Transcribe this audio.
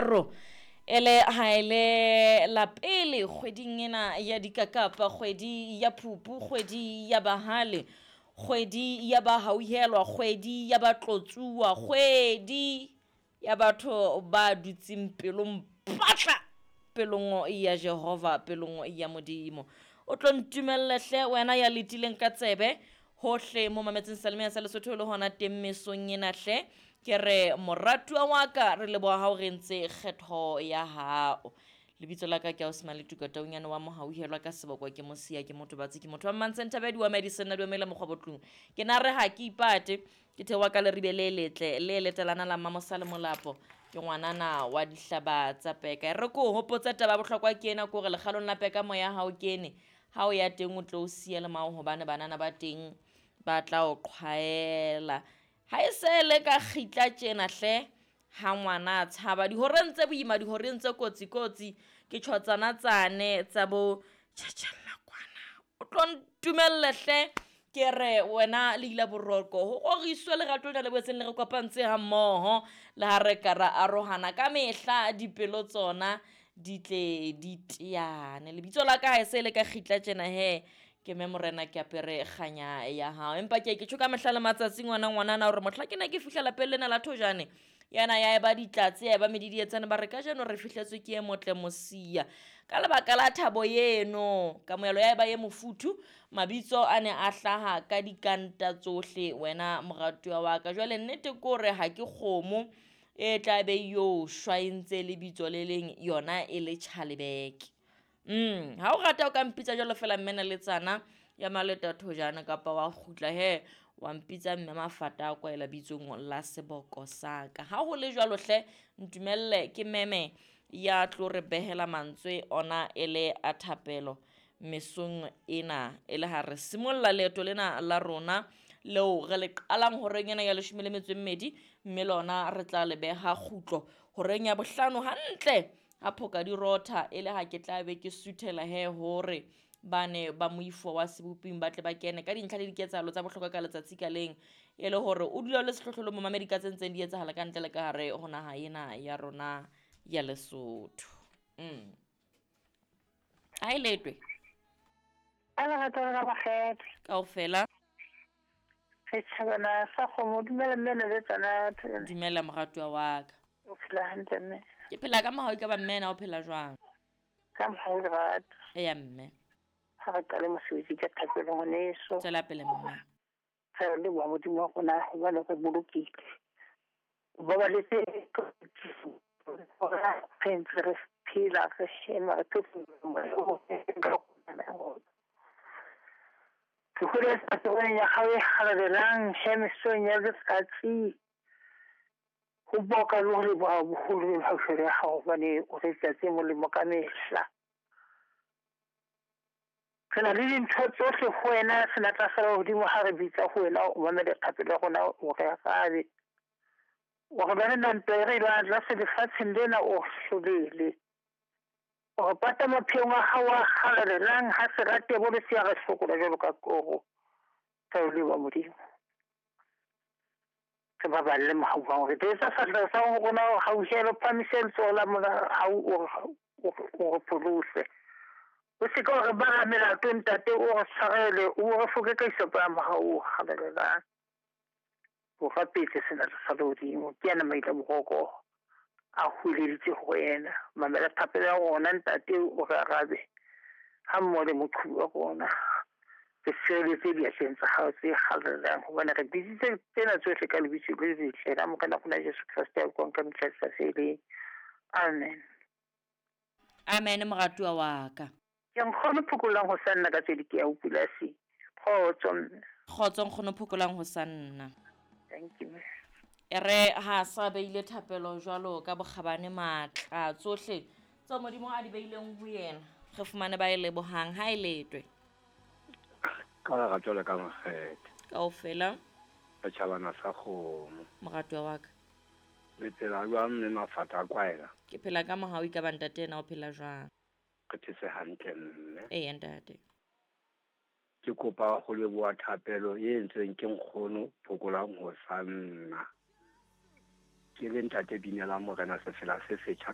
Ro ele ha ele la pele kgweding ena ya dikakapa, kgwedi ya phupu, kgwedi ya bahale, kgwedi ya bahauhelwa, kgwedi ya batlotsuwa, kgwedi ya batho ba dutseng pelong patla pelong ya Jehova, pelong ya Modimo. O tlo ntumelle hle wena ya letileng ka tsebe hohle mo mametseng Salemeya sa Lesotho le hona teng mesong ena hle. Ke re moratuwa wa ka re leboha ha o re entse kgetho ya hao. Lebitso la ka ke Ausi Tuka Taunyane wa Mohauhelwa ka seboko ke Mosia ke motho batsi ke motho wa Mmantsenthabedi wa Madison na dumela mokgwa botlung. Ke na re ha ke ipate ke theoha ka leribe le letle le letelana la Mmamosa le Molapo ke ngwanana wa dihlaba tsa peka. E re ko hopotse taba ya bohlokwa ke ena ke hore lekgalong la peka moya ha o kene ha o ya teng o tlo o siya le mao hobane banana ba teng ba tla o qhwaela. Ha e se le ka kgitla tjena hle ha ngwana a tshaba dihoreng tse boima dihoreng tse kotsi kotsi ke tjhotsana tsane tsa bo tjhatjhella kwana. O tlo ntumelle hle ke re wena le ila boroko ho roriswe lerato lena le boetseng le re kopantse ha mmoho le ha re ka ra arohana ka mehla dipelo tsona di tle di teane. Lebitso la ka ha e se le ka kgitla tjena he ke mme morena ke apere kganya ya hao. Empa ke ke tjho ka mehla le matsatsi ngwana ngwanana hore mohla ke ne ke fihla lapeng lena la Thojane yana ya eba ditlatse ya eba medidietsane ba re kajeno re fihletswe ke e motle Mosia. Ka lebaka la thabo eno kamohelo ya eba e mofuthu mabitso a ne a hlaha ka dikanta tsohle wena moratuwa wa ka. Jwale nnete ke hore ha ke kgomo e tla be yo shwa e ntse lebitso le leng yona e le Tjhalebeke. Ha o rata o ka mpitsa jwalo fela mme Naletsana ya Maleta Thojane kapa wa kgutla he wa mpitsa mme Mafata a kwaela bitsong la seboko sa ka. Ha ho le jwalo hle ntumelle ke meme ya tlo re behela mantswe ona e le a thapelo mesong ena e le ha re simolla leeto lena la rona leo re le qalang horeng ena ya 12 mme lona re tla le beha kgutlo horeng ya 5 hantle ha phoka di rotha e le ha ke tla be ke suthela he hore bane ba moifo wa seboping ba tle ba kene ka dintlha le diketsahalo tsa bohlokwa ka letsatsi ka leng e le hore o dula le sehlohlolo momamedi ka tse ntseng di etsahala ka ntle le ka hare ho naha ena ya rona ya Lesotho. Ha e letwe. A lerato la bakgetho. Kaofela. Re tjhabana sa kgomo, dumela mme Naletsana. Dumela moratuwa wa ka. O phela hantle mme? Ke phela ka mohau ka ba mme na o phela jwang? Ka mohau lerato. Eya mme. Ha re qale mosebetsi ka thapelo ngwaneso. Tswela pele mme. Re leboha Modimo wa rona hobane re bolokile. Ba ba letse re ntse re phela re hema re phefumoloha. Ke holetsa tsohong ya hao e halalelang he mesong ya letsatsi. Ho boka le ho leboha boholo le mehauhelo ya hao hobane o re etsa tse molemo ka mehla. Re na le dintho tsohle ho wena, senatla sa lehodimo ha re bitsa ho wena o mamele thapelo ya rona o re arabe. O re lwanela ntwa e re e lwana tlase lefatsheng lena o hlolele. O re pata mapheong a hao a halalelang ha se rate bolo se ya re hlokola jwalo ka koro. Ka o leboha Modimo. Re baballe mohau wa hore re etsa sefahleho sa ho rona o hauhele, o phahamise letsoho la hao o re pholose. O se ke wa re bala melato ntate, o re tshwarele, o re foke ka isopo ya mohau o halalelang. O rapetse senatla sa lehodimo, ke yena maitla boroko a hweleditse ho wena. Mamela thapelo ya rona ntate, o re arabe ha mmoho le moqhubi wa rona. Re sireletse diatleng tsa hao tse halalelang hobane re bitsitse tsena tsohle ka lebitso le letle la Morena rona Jesu Kreste ya buang ka mehla e sa feleng. Amen. Amen moratuwa wa ka. Ke nkgono Phokolang ho sa nna ka tswedi ke ya ho polasi. Kgotso mme. Kgotso nkgono Phokolang ho sa nna. Thank you. E re ha sa beile thapelo jwalo ka bokgabane matla tsohle tseo Modimo a di beileng ho yena re fumane ba e lebohang ha e letwe. Ka lerato le ka makgethe. Kaofela. Setjhabana sa kgomo. Moratuwa wa ka. Le phela jwang mme Mafata a kwaela? Ke phela ka mohau ka ba ntate ena o phela jwang? Re phetse hantle mme. Eya ntate. Ke kopa ho leboha thapelo e entsweng ke nkgono Phokolang ho sa nna. Ke le ntate Binela Morena sefela se setjha